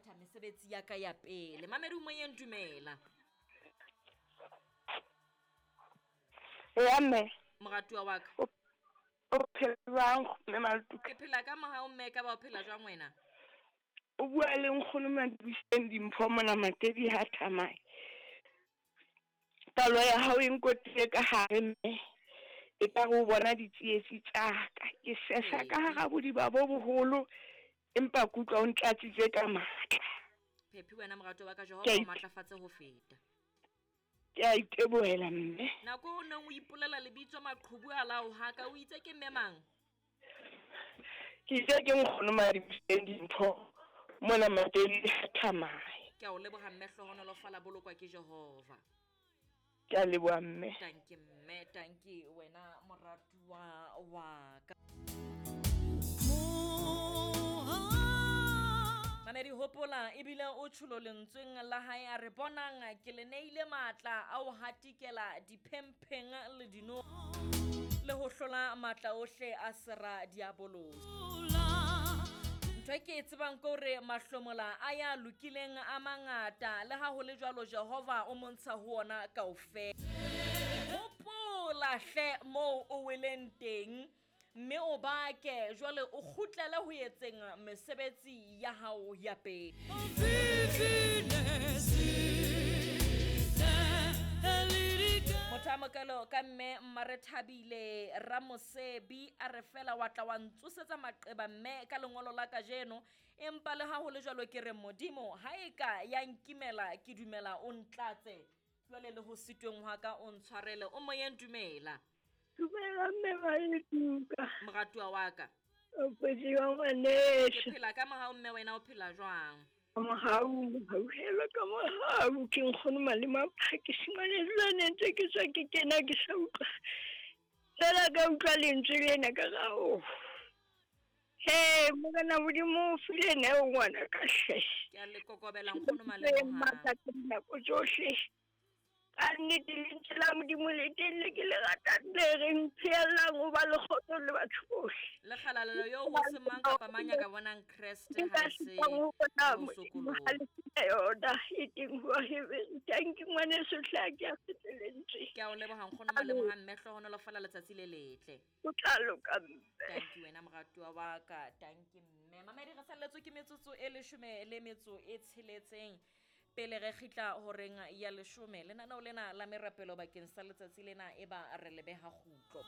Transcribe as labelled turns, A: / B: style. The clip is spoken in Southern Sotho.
A: phetha mesebetsi ya ka ya pele. Mamedi o moyeng, dumela.
B: Eya mme.
A: Moratuwa wa ka.
B: O phela jwang mme Maltuka?
A: Ke phela ka mohau mme, ka ba o phela jwang wena?
B: O bua le nkgono Madibuseng Dimpho mona Matedi ha Thamae. Palo ya hao e nkotile ka hare mme, e ka re o bona ditsietsi tsa ka. Ke sesa ka hara bodiba bo boholo, empa ke utlwa o ntlatsitse ka matla.
A: Phephi wena moratuwa wa ka, Jehova o matlafatse ho feta.
B: Ke a itebohela mme.
A: Nako o neng o ipolela lebitso maqhubu a lao haka, o itse ke mme mang?
B: Ke itse ke nkgono Madibuseng Dimpho mona Matedi ha Thamae.
A: Ke a o leboha mme, hlohonolofala, bolokwa ke Jehova.
B: Ke a leboha mme.
A: Tanki mme, tanki wena moratuwa wa ka. Mamedi hopola ebile o tjholo lentsweng la hae a re bonang ke le neile matla a ho hatikela diphempheng le dino le ho hlola matla ohle a sera diabolosi. Ntho e ke e tsebang ke hore mahlomola a ya lokileng a mangata, le ha ho le jwalo Jehova o montsha ho ona kaofela. Hopola hle moo o weleng teng, mme o bake jwale o kgutlele ho etseng mesebetsi ya hao ya pele. Motho a mokalo ka mme Mmarethabile Ramosebi a re fela wa tla wa ntsosetsa maqeba mme ka lengolo la kajeno, empa le ha ho le jwalo ke re Modimo ha e ka ya nkimela ke dumela o ntlatse jwale le ho sitweng hwa ka o ntshwarele. O moyeng, dumela.
B: Dumela mme Maletuka.
A: Moratuwa wa ka.
B: O phetse jwang ngwaneso?
A: Ke phela ka mohau mme, wena o phela jwang?
B: Mohau, mohauhelo ka mohau. Ke nkgono Malema Phakisi ngwaneso, le ne ntse ke tswa ke kena ke sa utlwa. Fela ka utlwa lentswe lena ka ra o. He, Morena Modimo o file neo ngwana ka hle.
A: Ke a le kokobela nkgono Malema.
B: Matla ka dinako tsohle. Ka nnete lentswe la Modimo le teng le ke le ratang le reng pheellang ho ba le kgotso le batho bohle.
A: Le kgalalelo eo ho se mang kapa mang ya ka bonang Kreste ha se ho sokoloha.
B: Yona e teng ho Heberu. Thank you ngwaneso hle, ha ke a fete lentswe.
A: Ke a o leboha nkgono Maleboha mme, hlohonolofala letsatsi le letle.
B: O tla loka mme.
A: Thank you wena moratuwa wa ka, thank you mme. Mamedi re salletswe ke metsotso e 16 le metso e 6 pele re kgitla horeng ya 10. Lenaneo lena la merapelo bakeng sa letsatsi lena e ba re lebeha kgutlo.